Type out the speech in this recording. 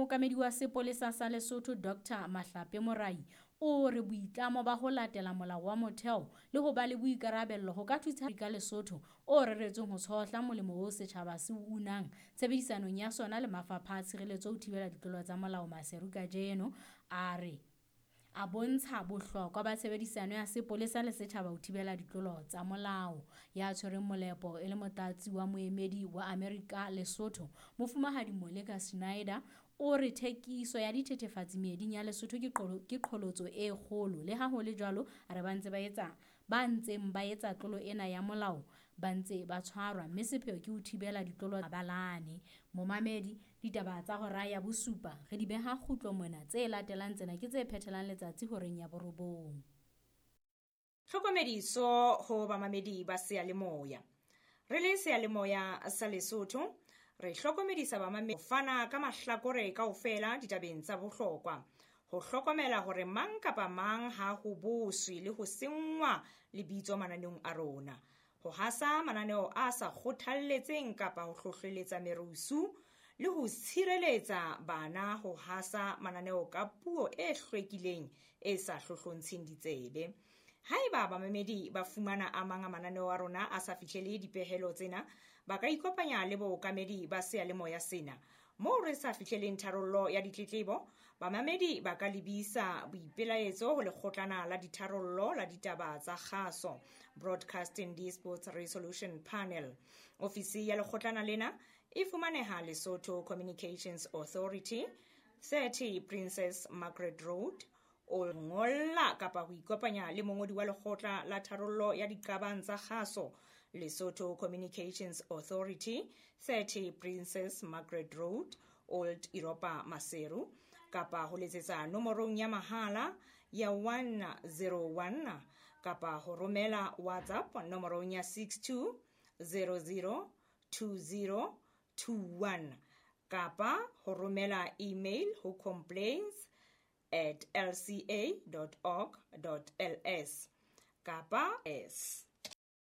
Mookamedi wa sepolesa sa Lesotho Dr Mahlape Morai o re boitlamo ba ho latela molao wa motheo le ho ba le boikarabello ho ka thusa ka Lesotho o reretsweng ho tshohla molemo oo setjhaba se o unang tshebedisanong ya sona le mafapha a tshireletso ho thibela ditlolo tsa molao Maseru kajeno a re a bontsha bohlokwa ba tshebedisano ya sepolesa le setjhaba ho thibela ditlolo tsa molao. Ya tshwereng molepo e le motlatsi wa moemedi wa Amerika Lesotho, Mofumahadi Moleka Schneider, o re thekiso ya dithethefatsi meeding ya Lesotho ke qholotso e kgolo. Le ha ho le jwalo, a re ba ntse ba etsa ba ntseng ba etsa tlolo ena ya molao ba ntse ba tshwarwa mme sepheo ke ho thibela ditlolo balane. Momamedi, ditaba tsa hora ya bosupa re di beha kgutlo mona. Tse latelang tsena ke tse phethelang letsatsi horeng ya borobong. Tlhokomediso ho bamamedi ba seyalemoya. Re le seyalemoya sa Lesotho, re hlokomedisa bamamedi ho fana ka mahlakore kaofela ditabeng tsa bohlokwa. Ho hlokomela hore mang kapa mang ha ho boswe le ho senngwa lebitso mananeong a rona. Ho hasa mananeo a sa kgothalletseng kapa ho hlohleletsa merusu le ho tshireletsa bana ho hasa mananeo ka puo e hlwekileng e sa hlohlontsheng ditsebe. Haeba bamamedi ba fumana a mang a mananeo a rona a sa fihlele dipehelo tsena, ba ka ikopanya le bookamedi ba seyalemoya sena. Moo re sa fihleleng tharollo ya ditletlebo, bamamedi ba ka lebisa boipelaetso ho lekgotlana la ditharollo la ditaba tsa kgaso, Broadcasting Disputes Resolution Panel. Ofisi ya lekgotlana lena e fumaneha Lesotho Communications Authority, 30 Princess Margaret Road, o ngolla kapa ho ikopanya le mongodi wa lekgotla la tharollo ya diqabang tsa kgaso, Lesotho Communications Authority, 30 Princess Margaret Road, Old Europa Maseru, kapa ho letsetsa nomorong ya mahala ya 101 kapa ho romela WhatsApp nomorong ya 62 00 20 21 kapa ho romela email ho complaints at lca.org.ls kapa s.